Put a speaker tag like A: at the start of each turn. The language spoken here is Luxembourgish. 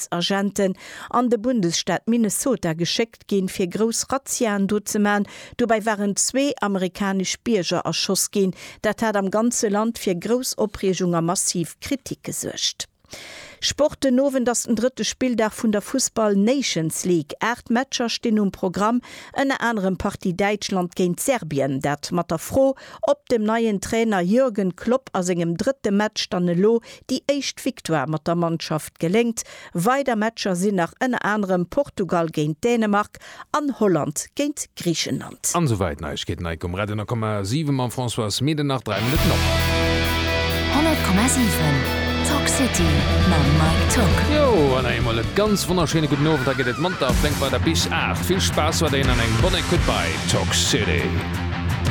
A: Policeagenten an de Bundesstaat Minnesota geschéckt ginn, fir grouss Razziaen do ze man. Dobäi waren zwee amerikanesch Bierger erschoss ginn. Dat hat am ganze Land fir grouss Opreegung a massiv Kritik gesuergt. Sport, Den Owend ass den drëtte Spilldag vun der Fussball Nations League. 8 Matcher stinn um Programm, ënner anerem Partie Däitschland géint Serbien. Dat mat der Fro, ob dem neien Trainer Jürgen Klopp a sengem drëtte Match dann elo déi éischt Victoire mat der Mannschaft geléngt. Weider Matcher sinn nach ënner anerem Portugal géint Dänemark an Holland géint Griichenland.
B: An esouwäit Neiegkeeten hei um Radio 10,7 mam Françoise Medernach 3 Minutten op.
C: 100,7 Talk City mam Mike Tock.
B: Jo, an eemol e ganz wonnerschéine gudden Owend. Da geet et monter a flénk weider bis 8. Vill Spaass weiderhin an eng bonne Écoute bei Talk City.